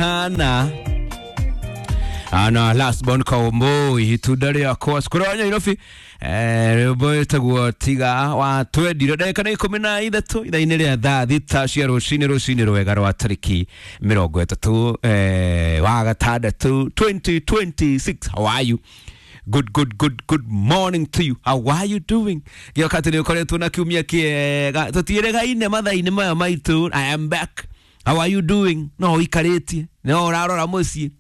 Kuhana ana last born Kaomboi itunda rĩakwa cukuru wa Nyairobi, rwĩmbo wĩtagwo tiga wa twendire. Ndagĩka nĩ 13 ithaa-inĩ rĩa thaa 6 cia rũcinĩ, rũcinĩ rwega rwa tarĩki 30 wa gatandatũ 2026. How are you? Good, good, good, good morning to you. How are you doing? Gĩoka atĩ nĩ ũkoretwo na kiumia kĩega, tũtiĩrĩgaine mathaa-inĩ maya maitũ. I am back. How are you doing? No ũikarĩtie, no ũrarora mũciĩ,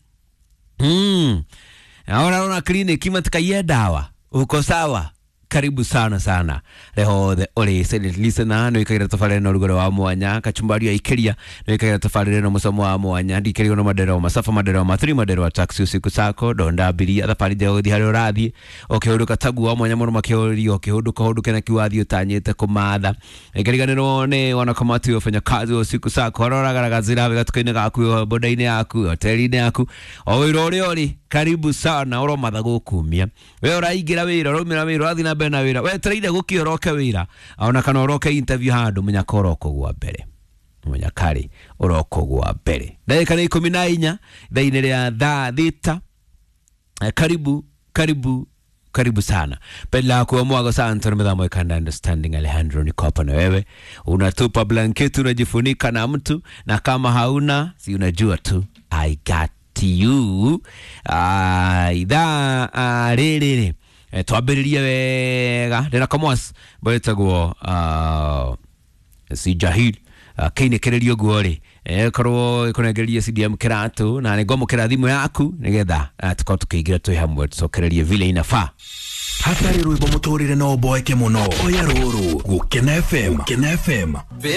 Na ũrarora kliniki matikaiye ndawa, uko sawa? Karibu sana sana rehothe uri silent listener, nä wikagira tabarä na rugoro wa mwanya, kachumbari aikiria nä wikagira tabarä na mucamo wa mwanya, ndikirigwo na maderwa masafa, maderwa mathiri, maderwa taxi usiku sako donda abiria thabarĩ njega gũthiĩ harĩa ũrathiĩ ũkĩhũndũka taguo wa mwanya mũno makĩũrio ũkĩhũndũka hũndũke na kiwathiĩ ũtanyĩte kũmatha ĩkĩriganĩrwo nĩ wanakamati wafanyakazi wa usiku sako harĩa ũragaragazĩra gatuka-inĩ gaku, boda-inĩ yaku, hoteli-inĩ yaku, o wĩra ũrĩa ũrĩ, karibu sana ũromatha gũkumia we ũraingĩra wĩra, ũraumĩra wĩra, ũrathiĩ na mbere na wĩra, wetereire gũkĩ ũroke wĩra ona kana ũroke interview handũ, mũnyaka ũrokũgwa mbere, mũnyakarĩ ũrokũgwa mbere. Ndagĩka nĩ 14 ithaa-inĩ rĩa thaa 6. Karibu, karibu, karibu sana pela kwa mwago sana midhamo ikanda understanding. Alejandro, niko hapa na wewe, unatupa blanketi unajifunika na mtu, na kama hauna si unajua tu I got you. Ithaa rĩrĩ rĩ twambĩrĩrie wega ndĩna kamwas mbwetagwo si jahil kĩinĩkĩrĩrio guo rĩ korwo ĩkũnengererie CDM kĩratũ na nĩngwamũkĩra thimũ yaku nĩgetha tũkorwo tũkĩingĩra twĩ hamwe tũcokererie vile inafaa. Hatarĩ rwĩmbo mũtũrĩre no ũboeke mũno, oya rũrũ Gũkena FM, Gũkena FM. Babe.